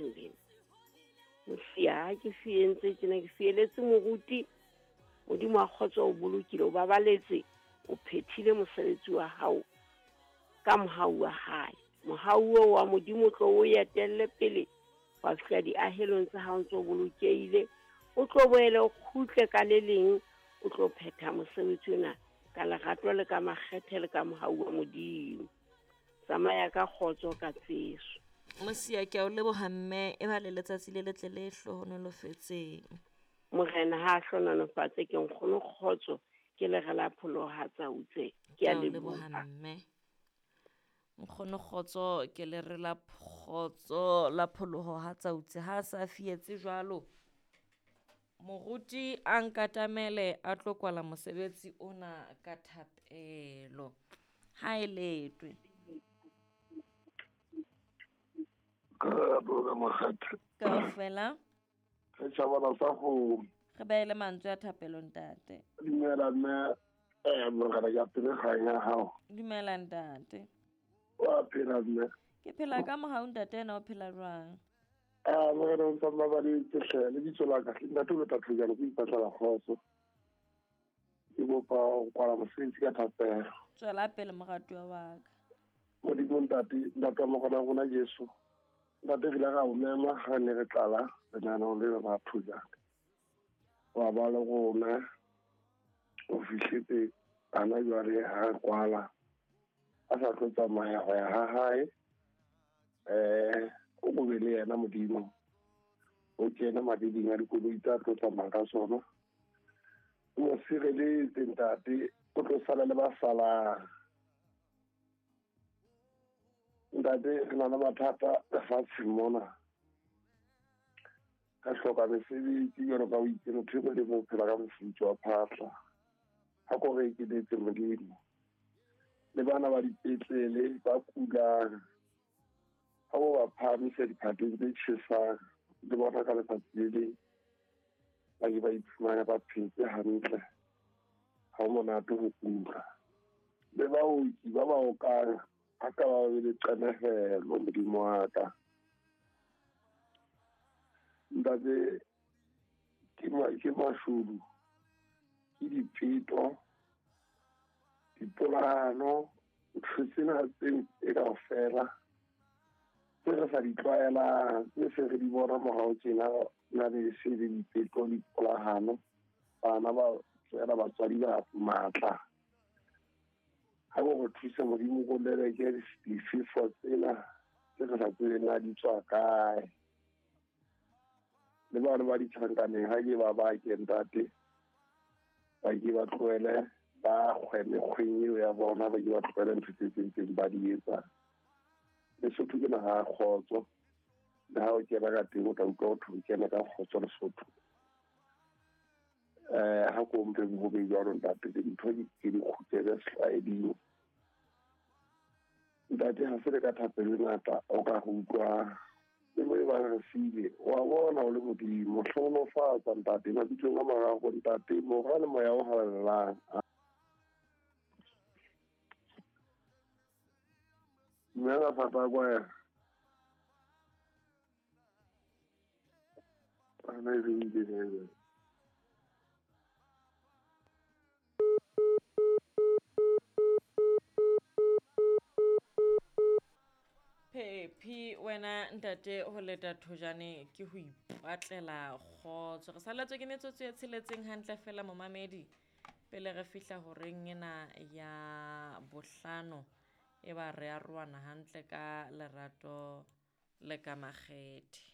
lefatsheng lena. Mosia ha ke fientse tjena ke fieletse moruti, Modimo wa kgotso o bolokile, o babaletse, o phethile mosebetsi wa hao ka mohau wa hae. Mohau oo wa Modimo o tlo o etelle pele wa fihla diahelong tsa hao ntse o bolokehile, o tlo boele o kgutle ka le leng, o tlo phetha mosebetsi ona ka lerato le ka makgethe le ka mohau wa Modimo. Tsamaya ka kgotso ka tseso. Mosia, ke a o leboha mme, e ba le letsatsi le letle le hlohonolofetseng. Morena ha a hlohonolofatse ke nkgono kgotso ke lere la pholoho ha tsautse. Ke a leboha mme. Nkgono kgotso ke lere la kgotso la pholoho ha tsautse ha a sa fietse jwalo. Moruti a nkatamele a tlo kwala mosebetsi ona ka thapelo. Ha e letwe. Kaofela. Re tjhabana sa kgomo. Re beele mantswe a thapelo ntate. Dumela mme, morena ke apere kgang ya hao. Dumela ntate. Wa phela mme? Ke phela ka mohau ntate, ena o phela jwang? Ah, morena o ntsa mmabaletse hle, lebitso la ka ntate o lota thojana ke ipatlela kgotso. Ke kopa ho kwala mosebetsi ka thapelo. Tswela pele moratuwa wa ka. Modimo ntate, ntate wa morena wa rona Jesu. Ntate re ile ra o mema ha ne re tlala lenaneo lena la thojana. Wa ba le rona o fihletse hana jwale ha re kwala a sa tlo tsamaya ho ya ha hae. O ko be le yena Modimo, o kene madiding a dikoloi tsa tlo tsamaya ka sona, o mo sireletse ntate, o tlo sala le ba salang. Ntate re na le mathata lefatsheng mona, ka hloka mesebetsi jwalo ka o itse motho e mong le mong o phela ka mofuthu wa phahla. Ha ko re ekeletse Modimo, le bana ba dipetlele ba kulang, ha bo ba phahamisa diphateng tse tjhesang, le bona ka letsatsi le leng ba ke ba iphumana ba phetse hantle. Ha ho monate ho kula. Le baoki ba ba okang ha ka ba be le qenehelo Modimo wa ka. Ntate ke mashodu, ke dipeto, dipolano, ntho tsena tse e kaofela tse re sa di tlwaelang, tse se re di bona morao tjena, na le se le dipeto, dipolahano, bana ba tswela batswadi ba matla. Ha bo re thuse Modimo ko leleke difefo tsena tse re sa tsebeng na di tswa kae. Le bana ba ditjhankaneng ha ke ba bake ntate, ba ke ba tlohele ba kgwe mekgweng eo ya bona, ba ke ba tlohele ntho tse tsentseng ba di etsang. Lesotho ke naha ya kgotso, le ha o kena ka teng o tla utlwa ho thwe o kena ka kgotso Lesotho. Ha ko mpe ho be jwalo ntate, dintho ke di kgutlele setlwaeding. Ntate ha se le ka thapelo e ngata o ka go utlwa le mo e bang re siile, wa bona o le Modimo. Hlohonolofatsa ntate mabitsong a mararo ntate, Mora le Moya o Halalelang. Dumela Papa Kwaya. Ana e re ile. Phephi wena ntate ho leta thojane ke ho ipatlela kgotso. Re salletswe ke metsotso e tsheletseng hantle fela momamedi pele re fihla horeng ena ya bohlano e ba re arohana hantle ka lerato le ka makgethe.